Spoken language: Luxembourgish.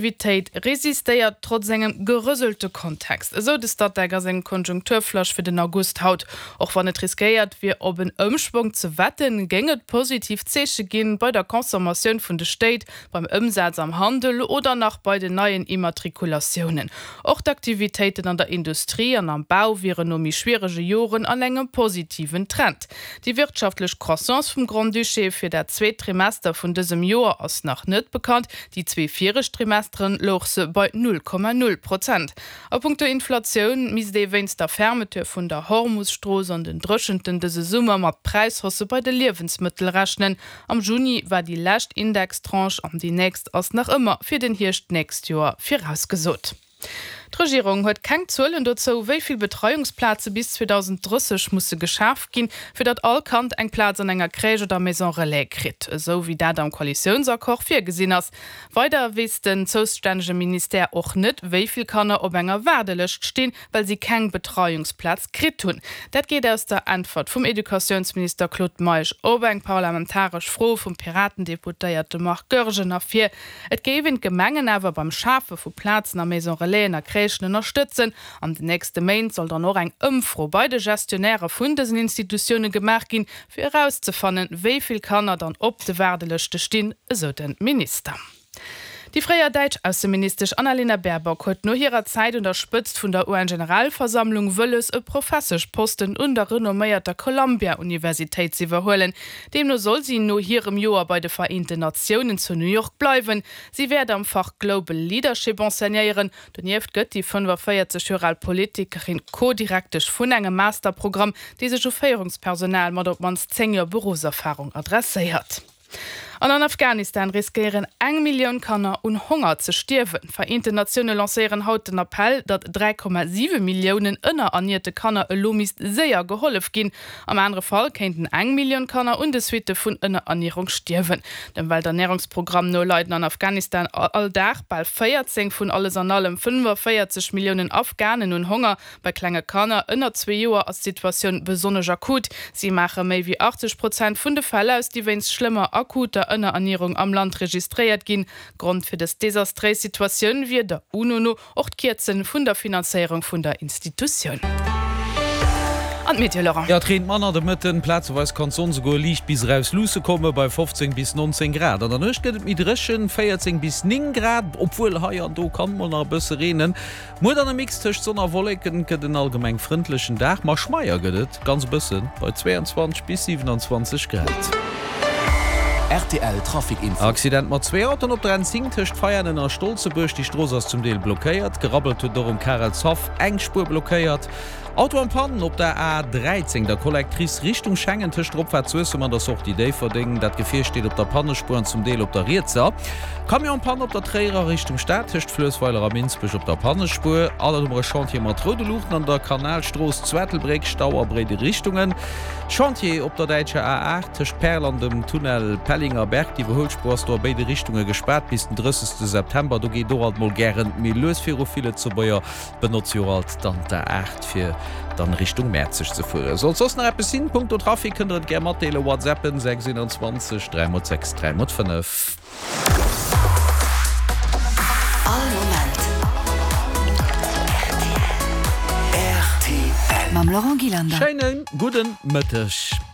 Aktivitéit resistéiert trotz engem gerëselte Kontext, esou de Statec a sengem Konjunkturflash fir den August haut. Och wann et riskéiert wier op en Ëmschwong ze wetten, géing et positiv Zeeche ginn bei der Consommatioun vun de Stéit, beim Ëmsaz am Handel oder nach bei den neien Immatrikulatiounen. Och d'Aktivitéiten an der Industrie an am Bau wieren no méi schwierege Joren an engem positiven Trend. Déi wirtschaftlech Croissance vum Grand-Duché fir dat zweet Trimester vun dësem Joer ass nach net bekannt. Déi zwee viregt Trimesteren louch se bei 0,0 Prozent. A punkto Inflatioun misst ee wéinst der Fermeture vun der Hormus-Strooss an den Dréchenten dëse Summer mat Präishaussë bei de Liewensmëttel rechnen. Am Juni war déi lescht Indextranche an déi nächst ass nach ëmmer fir den Hierscht d'nächst Joer virausgesot. D'Regierung huet keng Zuelen dozou, wéi vill Betreiungsplaze bis 2030 musse geschaf ginn, fir datt all Kand eng Plaz an enger Crèche oder Maison Relais kritt, esou wéi dat am Koalitiounsaccord virgesinn ass. Weider weess den zoustännege Ministère och net, wéi vill Kanner op enger Waardelëscht stinn, well si keng Betreiungsplaz kritt hunn. Dat geet aus der Äntwert vum Educatiounsminister Claude Meisch op eng parlamentaresch Fro vum Piraten-Deputéierte Marc Goergen ervir. Et géif een d'Gemengen awer beim Schafe vu Plazen a Maison Relaisen a Crèchen ënnerstëtzen. An den nächste Méint soll dann och eng Ëmfro bei de Gestionnairë vun dësen Institutioune gemaach ginn, fir erauszefannen, wéi vill Kanner dann op de Waardelëschte stinn, esou de Minister. Déi fréier däitsch Ausseministesch Annalena Baerbock huet no hirer Zäit un der Spëtzt vun der UN-Generalversammlung wëlles, e Professeschposten un der renomméierter Columbia-Universitéit z'iwwerhuelen. Deemno soll si no hirem Joer bei de Vereenten Natiounen zu New York bleiwen. Si wäert am Fach Global Leadership enseignéieren. Donieft gëtt déi 45 Joer al Politikerin Co-Direktesch vun engem Masterprogramm, dee sech u Féierungspersonal mat op d'mannst 10 Joer Beruffserfarung adresséiert. An an Afghanistan riskéieren eng Millioun Kanner un Honger ze stierwen. D'Vereenten Natioune lancéieren haut den Appell, datt 3,7 Milliounen ënnerernierte Kanner elo misst séier gehollef ginn. Am anere Fall kéinten eng Millioun Kanner un de Suitte vun Ënnerernierung stierwen. Dem Welternärungsprogramm no leiden an Afghanistan all Dag bal 14 vun alles an allem 45 Milliounen Afghanen un Honger. Bei klenge Kanner ënner zwee Joer ass d'Situatioun besonnesch akut. Si maache méi wéi 80 Prozent vun de Fäll aus, déi wéinst schlëmmer akuter Ënnerernierung am Land registréiert ginn. Grond fir dës desastréis Situatioun wier der UNO no Och d'Kierze vun der Finanzéierung vun der Institutioun. An d'Meteo, Laurent? Jo, et reent manner de Mëtten, plazeweis kann d'Sonn souguer liicht bis eraus luusse komme bei 15 bis 19 Grad. An der Nuecht gëtt et méi dréchen, 14 bis 9 Grad, obwuel hei an do kann mol nach e bësse reenen. Muer dann e Mix tëscht Sonn a Wolleken, et gëtt en allgemeng frëndlechen Dag, ma schmeier gëtt et ganz e bëssen bei 22 bis 27 Grad. Rtl Trafic Info. Accident mat zwee Autoen op der N10 tëscht Veianen a Stolzebuerg. Déi Strooss ass zum Deel blockéiert. Gerabbelt huet et och um Karelshaff, eng Spuer blockéiert. Auto an Panne op der A13, der Collectrice Richtung Schengen tëscht der Opfaart Suessem an der Sortie Déifferdeng. Dat Gefier steet op der Pannespuer an zum Deel op der rietser. Camion en Panne op der Tréierer Richtung Stad tëscht Fluessweiler a Minsbech op der Pannespuer. An dann hu mer e Chantier mat roude Luuchten an der Kanalstrooss zu Ettelbréck, Stau a béide Richtungen. Chantier op der däitscher A8 tëscht Perl an dem Tunnel Pellingerberg. D'Iwwerhuelspuer ass do a béide Richtunge gespaart bis den 30 September. Do geet och alt mol gären méi lues viru. Vill Lëtzebuerger benotze jo och alt dann d'A8 fir dann Richtung Mäerzeg ze fueren. Sollt soss nach eppes sinn, punkto Trafic, kënnt der et gär matdeelen. Whatsappen 6 21 3 x 6 3 x 5. All Moment rtl. Mam Laurent Gillander. Schéinen gudden Mëtteg.